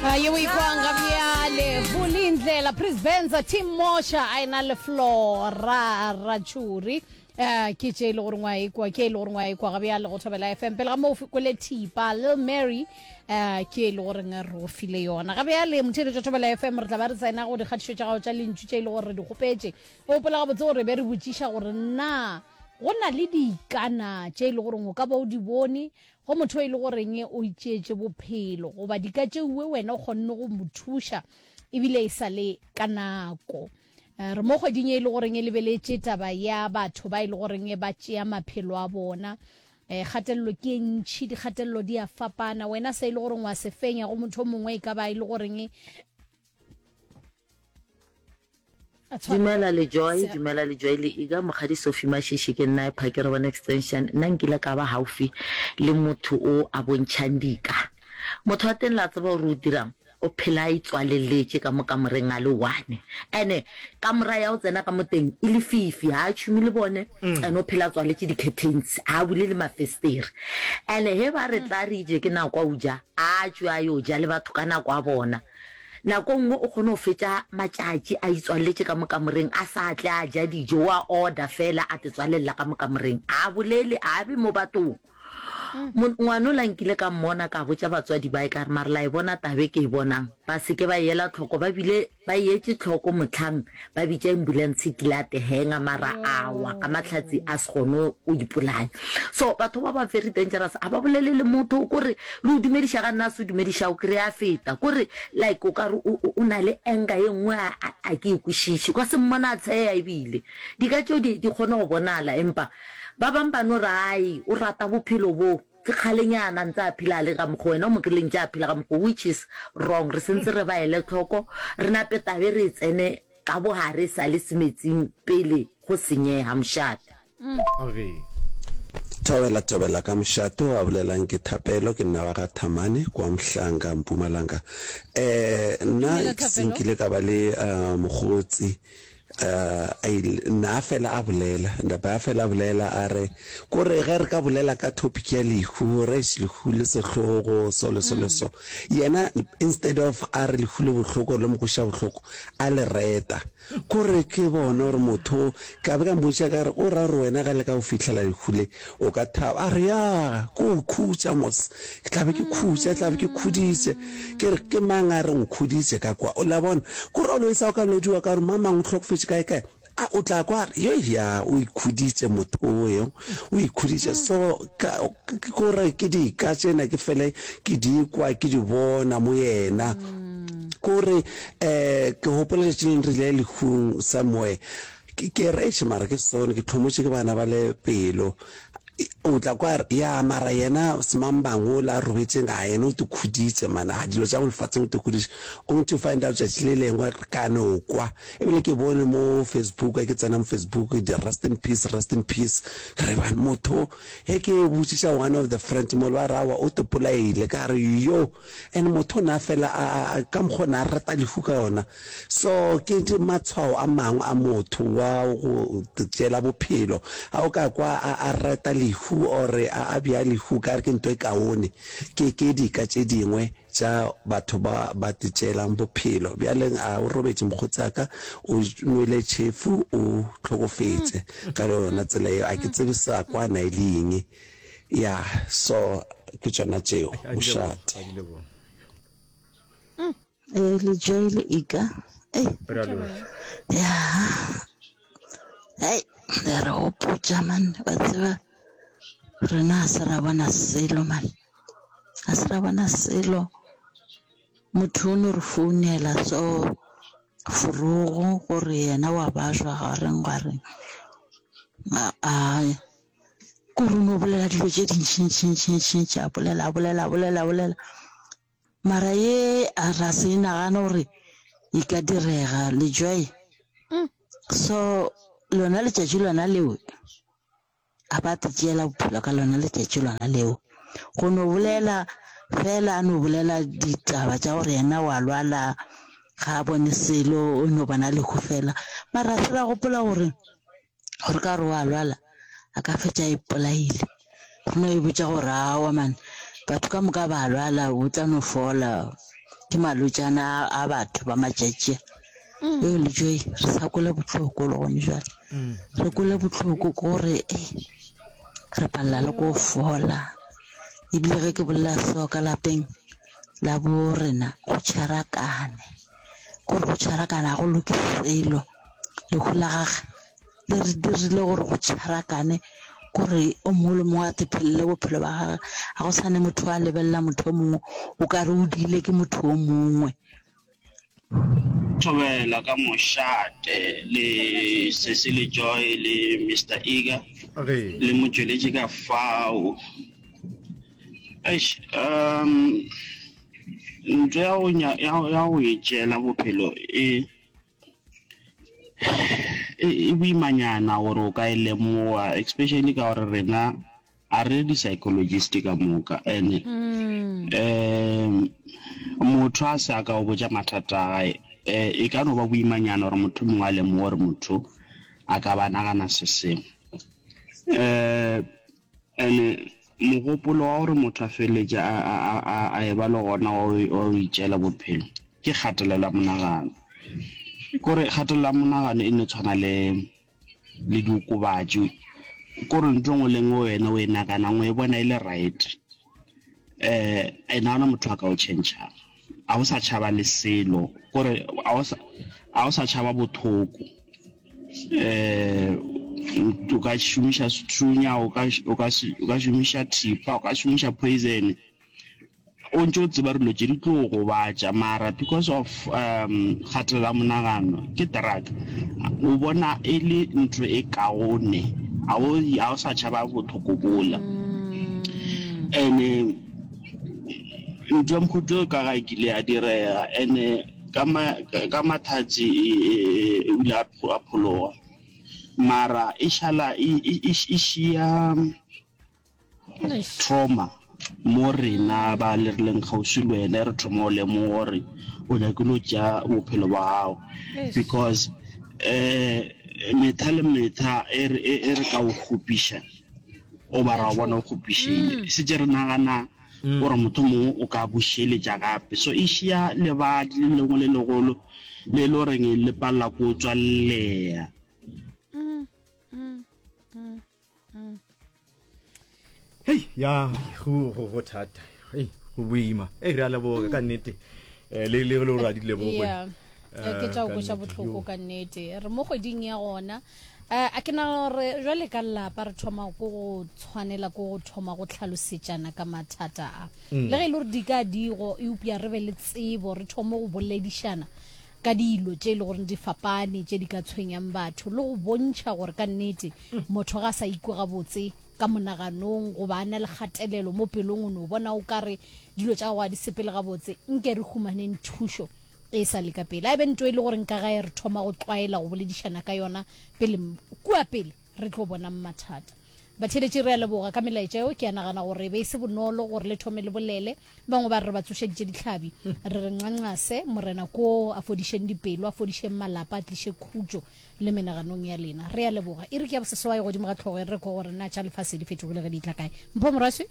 Yeo e kwang ga bjale Vulindlela Prisbenza Team Mosha a ena le Flora Ratšhuri um ke tše e le goreng wa ekwa ke e le goreng wa ekwa ga bjale go Thobela FM pele ga moo kwele Thipa Lil Mary um ke e le goreng re o file yona ga bjale motheeletšo Thobela FM re tla ba re tsena go dikgatišo tša gago tša lentšu tše e le gore re di kgopetše o gopola gabotse gore be re botšiša gore na go na le dikana tše e le goreng o ka ba o di bone Go motho e le goreng o itšeetše bophelo goba dika tšeuwe wena o kgonne go mo thuša ebile e sa le ka nako. Eh, re mo kgweding e le goreng e lebeletše taba ya batho ba e le goreng ba tšea maphelo a bona. Eh, kgatelelo ke e ntšhi, dikgatelelo di a fapana. Wena se e le goreng wa se fenya go motho o mongwe e ka ba e le goreng Dumela le Joy, dumela le Joy le Iga, Mokgadi Sophie Mashishi ke nna Phakere One Extension. Nna nkile ka ba haufi le motho o a bontšhang dika. Motho wa teng la tseba gore o dirang? O phela a itswaleletše ka mo kamoreng a le one. Ene kamora ya go tsena ka mo teng e lefifi, ga a tšhume le bone, ene o phela a tswaletše di-curtains, ga a bule le mafestere. Ene ge ba re tla re je ke nako a o ja, a tšwe a yo ja le batho ka nako a bona. Nako nngwe o kgona go fetša matšatši a itswaleletše ka mo kamoreng a sa tle a ja dijo, o a order fela a tetswalelela ka mo kamoreng. A bolele, a be mo bathong. Mo, ngwanola nkile ka mmona ka botša batswadi bae ka re mare la e bona taba e ke e bonang? Ba se ke ba e ela tlhoko, ba bile ba e etše tlhoko mohlang ba bitša ambulance e kile a tehenga mara a wa ka mahlatsi a se kgone go ipolaya. So batho ba ba very dangerous, ga ba bolele le motho, kore le go dumediša ga nna a se dumediša o kry-a a feta, kore like o ka re o na le anger ye nngwe a ke e kwešiše, o ka se mmone a tsheya ebile. Dika tšeo di kgona go bonala empa ba bang ba no re ai o rata bophelo bo. Ke kgalenyana a ntse a phela a le ka mokgo wena o mo kry-ile ntše a phela ka mokgo which is wrong. Re sentse re ba ele tlhoko, re nape tabe re e tsene ka bogare e sa le semetsing pele go senyega mošate. Thobela thobela ka mošate o a bolelang ke Thapelo ke nna wa ga Thamane kwa Mhlanga Mpumalanga eh nna Dumela se Thapelo. nkile ka ba le mokgotsi a ile na fela a bolela napa a fela a bolela a re kore ge re ka bolela ka topic ya lehu re eish lehu le sehlogo so le so le so yena instead of a re lehu le bohloko le mo kweša bohloko a le reta kore ke bone gore motho ka be ka mmotša ka re o ra gore wena ge le ka go fihlela lehu le o ka thaba a re ya ko o khutša mos ke tla be ke khutša tla be ke khuditše Ke re, Ke mang a re nkhuditše ka kwa? O la bona? Kore always ha o ka lodiwa ka gore mamang o hlokofetše kae kae, a o tla kwa a re, Yoi ya, o ikhuditše motho oyo, o ikhuditše. So ka, ke kore ke dika tšena ke fele ke di kwa, ke di bona mo yena. Kore um ke gopola letšatši le lengwe re ile lehung somewhere, ke, ke re eish mara ke sone, ke hlomotše ke bana ba le pelo. O tla kwa a re, Ya, mara yena semangmang wola a robetšeng, a yena o tikhuditše man, a dilo tša mo lefatsheng o tikhuditše. Only to find out tšatši le lengwe ka no kwa, ebile ke bone mo Facebook, ge ke tsena mo Facebook, di rest in peace, rest in peace. Ka re ban motho, ge ke botšiša one of the friends mo, ba re aowa o tipolaile. Ka re yo! And motho o ne a fela a, a, ka mokgwa o ne a rata lehu ka yona. So ke matshwao a mangwe a motho wa go tšeela bophelo. Ga o ka kwa a, a reta lehu or a, a bea lehu ka re ke nto e kaone, ke, ke dika tše dingwe tša batho ba ba tšeelang bophelo. Bjale a o robetše mokgotsi wa ka, o nwele tšhefu, o hlokofetše ka yona tsela yeo. A ke tsebe sa kwana e le eng. Ya, so ke tšona tšeo, mošate. Ee, le Joy le Ika. Ei. Ya. Hei, le re gopotša man, wa tseba rena ga se ra bona selo man. Ga se ra bona selo. Motho o no re founela so forogo gore yena wa bajwa ga reng gwa reng. Ai. Kore o no bolela dilo tše dintšintšintšintšintši, a bolela, a bolela, a bolela, a bolela. Mara ye a ra se e nagane gore e ka direga le Joy. So lona letšatši lona leo a ba te tšeela bophelo ka lona letšatši lona leo. Go no bolela fela a no bolela ditaba tša gore yena wa lwala ga a bone selo o no bona lehu fela. Mara se ra gopola gore gore ka gore wa lwala a ka fetša a ipolaile. Re no e botša gore aowa man, batho ka moka ba lwala, o tla no fola. Ke malwetšana a batho ba matšatši a. Yo le Joy re sa kwele bohloko le gone jwale. Re kwele bohloko ke gore re palela le ko fola. Ebile ge ke bolela so ka lapeng la bo rena go tšharakane. Kore go tšharakana ga go loke selo. Lehu la gage le re dirile gore go tšharakane kore o mongwe le mongwe a tephelele bophelo ba gage ga go sane motho a lebelela motho o mongwe o ka re o diile ke motho o mongwe. Thobela ka mošate le Sesi le Joy le Mister Iga le motšweletši ka fao. Eish um ntho ya go ya go itšeela bophelo e E, e boimanyana gore o ka e lemoga, especially ka gore rena a re di-psychologist ka moka and um motho a se a ka o botša mathata a gae um e ka no ba boimanyana gore motho mongwe a lemoge gore motho a ka ba nagana se sengwe. Um and mogopolo wa gore motho a feleletše a, a, a, a, a e ba le gona wa go itšeela bophelo Ke kgatelelo ya monagano. Kore kgatelelo ya monagano e no tshwana le le diokobatši. Kore ntho e nngwe le nngwe wena o e naganang o e bona e le right. Um and ga gona motho a ka o tšhentšhang. Ga o sa tšhaba le selo, kore ga o sa ga o sa tšhaba bothoko. Um o ka šomiša sethunya, o ka o ka o ka šomiša thipa, o ka šomiša poison. O ntše o tseba dilo tše di tlo go gobatša mara because of um kgatelelo ya monagano ke drug o bona e le ntho e kaone ga o ga o sa tšhaba bothoko bola and-e ntho ya mohuta o ka ga e kile ya direga and-e ka ma ka mathatsi o ile a phologa mara e šala e e šia. Trauma mo rena ba le re leng kgauswi le wena re thoma go lemoga gore o nyakile go tšea bophelo bja gago because um metha le metha e re e re ka o kgopiša o ba ra o bona o kgopišegile mm. setse re nagana mm. gore motho mongwe o ka bušeletša gape so e šia lebadi le lengwe le legolo le e le goreng le palela ko tswalelea mm, Hei, ya go go go thata. Hei, go boima. Ei, re a leboga ka nnete. Eh, le le le gore a di leboge. Yeah. Eh, ke tša go kweša bohloko ka nnete. Re mo kgweding ya gona. Eh, a ke nagana gore jwale ka lelapa re thoma ko go tshwanela ko go thoma go tlhalosetšana ka mathata a. Mm. Le ge e le gore di ka digo, eupša re be le tsebo, re thome go boledišana ka dilo tše e le gore di fapane tše di ka tshwenyang batho le go bontšha gore ka nnete motho ga a sa ikwe gabotse ka monaganong goba a na le kgatelelo mo pelong o no bona o ka re dilo tša gago ga di sepele gabotse nke re humaneng thušo e sa le ka pele a e be nto e le gore nka gae re thoma go tlwaela go boledišana ka yona pele kua pele re tlo bonang mathata. Batheeletši re a leboga ka melaetša eo, ke a nagana gore e be e se bonolo gore le thome le bolele. Bangwe ba re re ba tsošeditše dihlabi, re re nqanqase, Morena koo a fodišeng dipelo, a fodišeng malapa, a tliše khutšo le menaganong ya lena. Re a leboga. Iri ke ya boseswai godimo ga hlogo e re re kwe gore na tša lefase di fetogile ge di etla kae. Mpho Morwaswi.